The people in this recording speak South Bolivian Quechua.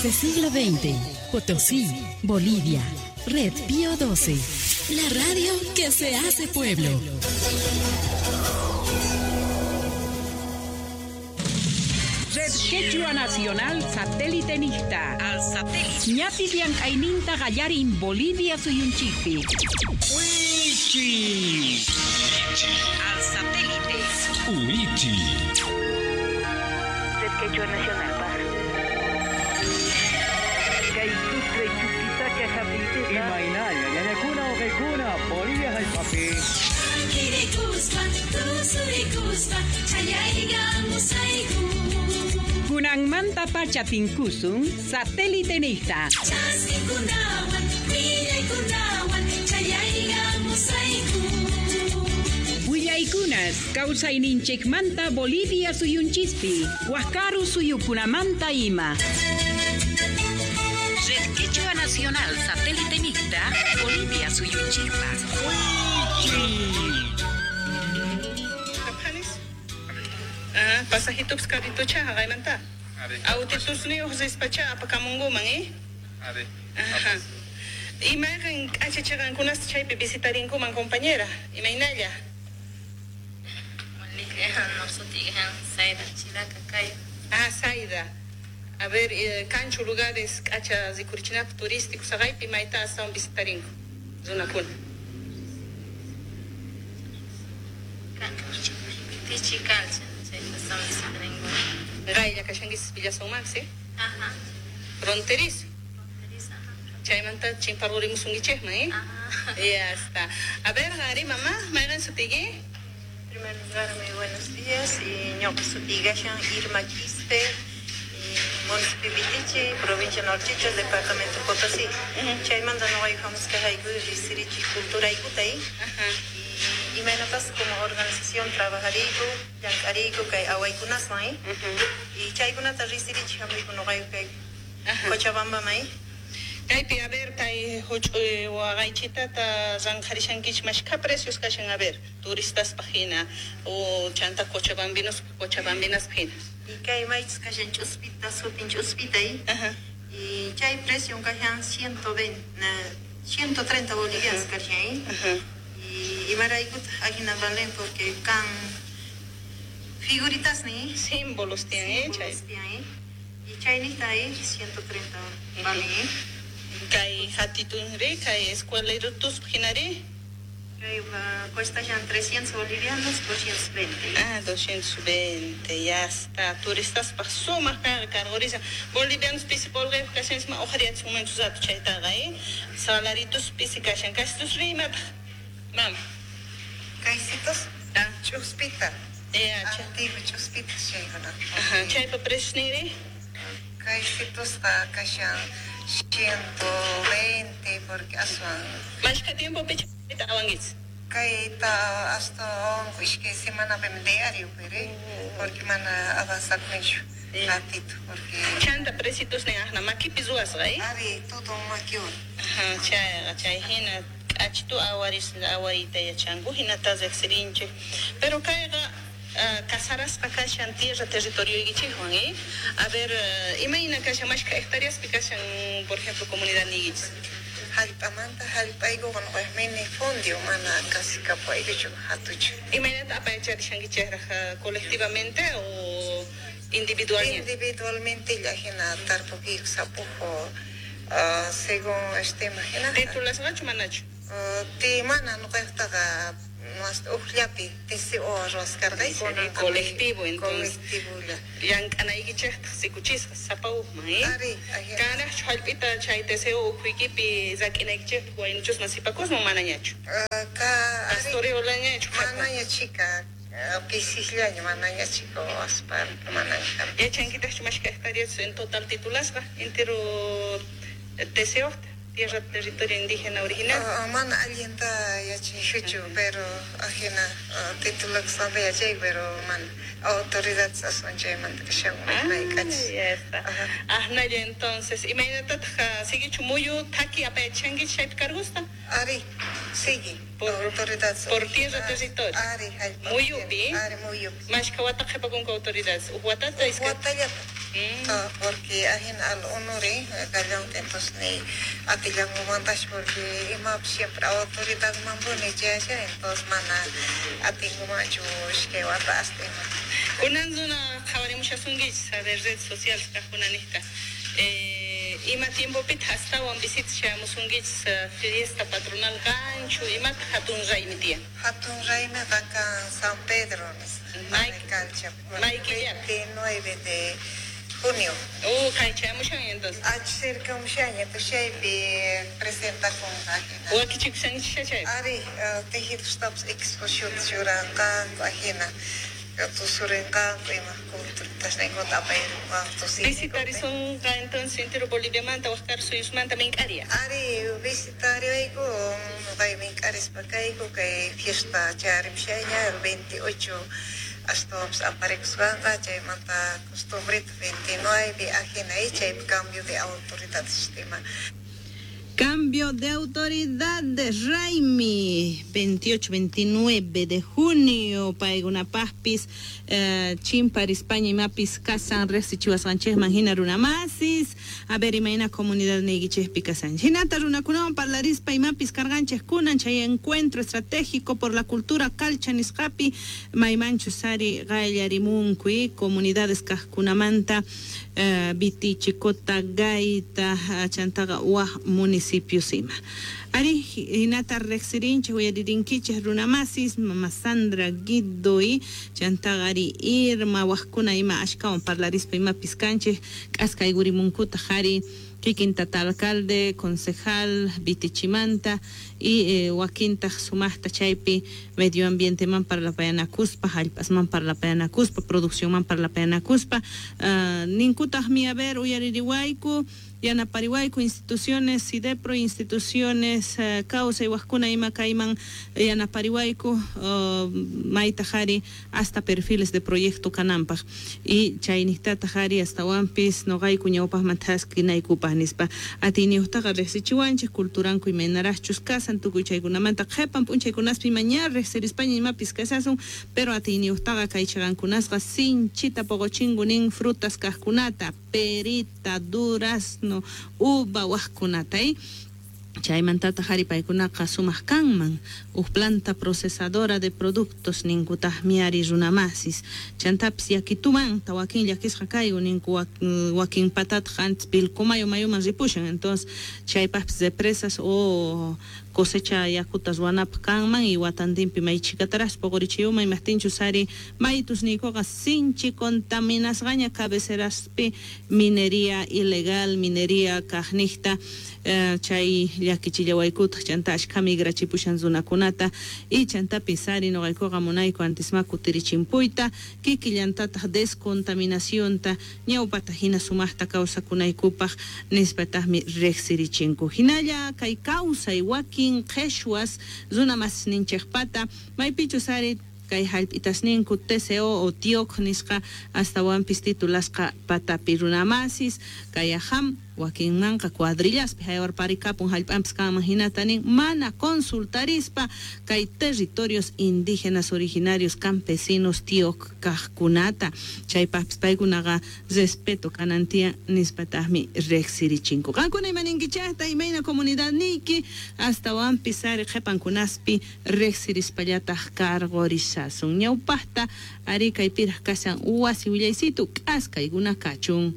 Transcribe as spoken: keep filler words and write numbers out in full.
Desde siglo veinte, Potosí, Bolivia. Red Pío doce. La radio que se hace pueblo. Red Quechua Nacional Satélite Nista. Al satélite. Ñapis llank'ayninta qallarin Bolivia suyunchikpi. Wichi. Al satélite. Wichi. Red Quechua Nacional Paz. Imaynalla, ñañakuna uqaykuna, Bolivia hallp'api. Kunanmanta pacha tinkusun satélite nista. Willaykunas kawsayninchikmanta Bolivia suyunchispi, Huascaru suyukunamanta ima. Red Quechua Nacional Satélite Mixta, Bolivia suyunchikpa. Ah, pasajito carritocha haqaymanta. Autitusniyuq rispacha apakamunkuman, eh? Ajá. Imayqan k'achachaqankunasta chaypi visitarinkuman, compañera? Imaynalla? Ah, Saida. A ver, eh, kanchu lugares k'acha rikurichinapaq turísticos haqaypi mayta astawan visitarinku runakuna. Qaylla kashankis Villasunmansi, ¿sí? Ajá. Fronterizo. Fronterizo, ajá. Chaymanta chimparurimusunkichikman, ¿eh? Ajá. Ya está. A ver, Gary, mamá, mayqan sutiyki? En primer lugar, muy buenos días. Ñuqa sutiygashan Irma Quispe, municipio Vitichi, provincia Norchicho, departamento Potosí. Chaymanta ñuqayku hamusqayku risirichik culturaykuta, ¿eh? Ajá. Imaynatas como organización trabajariyku, llank'ariyku kay awaykunaswan, ¿eh? Y chaykunata risirichik hamuyku ñuqayku kay Cochabambaman, ¿eh? Kaypi, a ver, kay huch'uy waqaychitata ranqharishankichik mashkha precios kashan, a ver, turistaspaq hina o chanta cochabambinos cochabambinaspaq hina. Y kay maychus kashan ch'uspita, sutin ch'uspita, ¿eh? Ajá. Y chay precio kashan ciento veinte, ciento treinta bolivianos kashan, ¿eh? Ajá. Y imaraykutaq ajina valen porque kan figuritas, ¿ni? Símbolos tienen, ¿eh? Símbolos tienen, ¿eh? Y chaynita, ¿eh? ciento treinta valen, ¿eh? Kay hatitunri, kay escuelairutuspaq hinari. Kay cuesta ya trescientos bolivianos, doscientos veinte. Ah, doscientos veinte, ya está. Turistaspaq sumaq kanqa cargorisa. Bolivianos pisi polqayuq kashanchisman uqhariyachisunmanchu rato chaytaqa, ¿eh? Salaritos pisi kashan. Kaysitus rimataq, mama. Kaysitus? Ah. Ch'uspita. Ya, chay. Antiguo ch'uspita chaykuna. Ajá, chaypa preciosninri? Kaysitusqa kashan ciento veinte porque aswan. Mashkha tiempopi chayta awankichis? Kayta hasta iskay semanapimi diario pero porque mana avanzakunichu ratito porque Chanta preciosnin aqna makipi ruwasqa, ¿eh? Ari, todo makiwan. Ajá, chayqa chay hina k'achitu awaris awariyta yachanku hinata riqsirinchik. Pero kayqa casarasqa kashan tierra territorioykichikwan, ¿eh? A ver, imayna kashan mashkha hectáreaspi kashan, por ejemplo, comunidad niykichis? Hallp'amanta hallp'aykuwan minifundio mana casi kapaykuchu hatuchu. Imaynata apayacharishankichikraq colectivamente o individualmente? Individualmente hina tarpukiyku sapuju según este imagina. Titulasqachu manachu? Ti mana ñuqayqtaqa uqllapi T C O ruwaskarqayku. Colectivo, entonces. Colectivolla. Llank'anaykichiktaq sikuchisqa sapa uqman, ¿eh? Ari, Kanaqchu hallp'ita chay T C O ukhuykipi rak'inaykichikpaq waynuchusman sipakusman manañachu? Ka Pastoreolañachu? Manaña chika, pisisllaña manaña chika waspa manaña. Yachankitaqchu mashkha hectáreas en total titulasqa entero T C O? Tierra, territorio indígena original. Uh, mana allinta yachaykuchu, pero ajina uh, titulakusqanta yachay, pero mana autoridades aswan chaymanta kashanku Ah, mayk'achis. ya está. Ahnalla entonces, imaynatataq siguichu muyu taki apayachankichik chaypi cargusta? Ari, sigue. Por, autoridades por tierra, territorio. Ari, hallp'a. Muyupi. Ari, muyupi. Mashkha wata qhipakunku autoridades. Uj watata iskay. Watallata. Mm. Porque ajin al honore callante entonces ni atillangumantash porque ima siempre autoridad mambuni chasha entonces mana atingumanchu ishkay wata hasta ima. Kunan runa qhawarimushasunkichis a ver redes sociales kaqkunanijta. Eh, ima tiempopitaq astawan visita shamusunkichis fiesta patronal kanchu imataq hatun raymi tiyan? Hatun raymiqa kan San Pedro May cancha may killapi? veintinueve de junio. Uh, kaychamushan entonces. Ach cerca mushaña, chaypi presentakunqa ajina. Wakichikushankichis chaypi? Ari, tejidostapas exposición churanqanku ajina. Tusurinqanku ima culturasninkuta apayrinqanku. Visitarisunqa entonces entero Boliviamanta waj karu suyusmanta mink'ariya. Ari, visitariyayku kay mink'arispa kayku kay fiesta chayarimushaña el veintiocho astawanpas aparikusqanqa chaymanta costumbrita veintinueve ajina y chaypi cambio de autoridad sistema. Cambio de autoridad de Raymi, veintiocho, veintinueve de junio, paykunapaqpis, eh, chimparispaña imapis kasan riqsichiwasqanchikman hina runamasis, a ver imayna comunidad niykichikpi kasanchik. Hinata runakunawan parlarispa imapis karqanchik kunan chay encuentro estratégico por la cultura calcha nisqapi maymanchus ari qallarimunku comunidades kaqkunamanta, eh, Vitichi, Cotagaita, chantaqa waj municipios ima. Ari hinata riqsirinchik uyaririnkichik runamasis mama Sandra Guido y chantaqa ari Irma wajkuna ima ashkawan parlarispa imapis kanchik k'askayurimunkutaq ari kikin tata alcalde, concejal Vitichimanta y eh, wakintaq sumaqta chaypi medio ambienteman parlapayanakuspa, hallp'asman parlapayanakuspa, produccionman parlapayanakuspa, uh, ninkutaqmi a ver uyaririwayku yanapariwayku instituciones SIDEPRO, instituciones uh, kawsay wajkuna ima kayman yanapariwayku uh, maytaq ari hasta perfiles de proyecto kananpaq y chaynijtataq ari astawanpis noqayku ñawpaqman thaskinaykupaq nispa atiyniyuqtaqa riqsichiwanchik culturanku imaynaraqchus kasan tukuy chaykunamanta qhipan p'unchaykunaspi imaña riqsirispaña imapis kasasun pero atiyniyuqtaqa kay chiqankunasqa sinchita poqochinku nin frutas kaqkunata perita, durazno, uva wajkunata y chaymantataq ari paykunaqa sumaq kanman uj planta procesadora de productos ninkutaqmi ari runamasis chantapis yakitumanta wakin llakisqa kayku ninku wakin patataq antes Pilcomayo mayuman ripushan entonces chaypaqpis represas o cosecha yakuta ruwanapaq kanman y watantinpi may chhikataraqpis puqurichiyuman imaqtinchus ari maytus niykuqa sinchi contaminasqaña cabeceraspi minería ilegal, minería kaqniqta eh, chay llakichillawaykutaq chanta ashkha migrachipushan runakunata y chantapis ari noqaykuqa munayku antisma kutirichimpuyta kikillantataq descontaminacionta ñawpata hina sumaqta kawsakunaykupaq nispataqmi riqsirichinku hinalla kay kawsay wakin qheshwas runamasninchikpata maypichus ari kay hallp'itasninku T C O o TIOC nisqa astawanpis titulasqa patapi runamasis kay ajam wakinmanqa cuadrillaspi haywarparikapun hallp'anpis kanman hinata nin mana consultarispa kay territorios indígenas originarios campesinos TIOC kaqkunata chaypaqpis paykunaqa respeto kanan tiyan nispataqmi riqsirichinku. Qankuna imaninkichaqta imayna comunidad niyki astawanpis ari qhipankunaspi riqsirispallataq karqurishasun. Ñawpaqta ari kaypiraq kashan wasi willaysitu k'askaykuna kachun.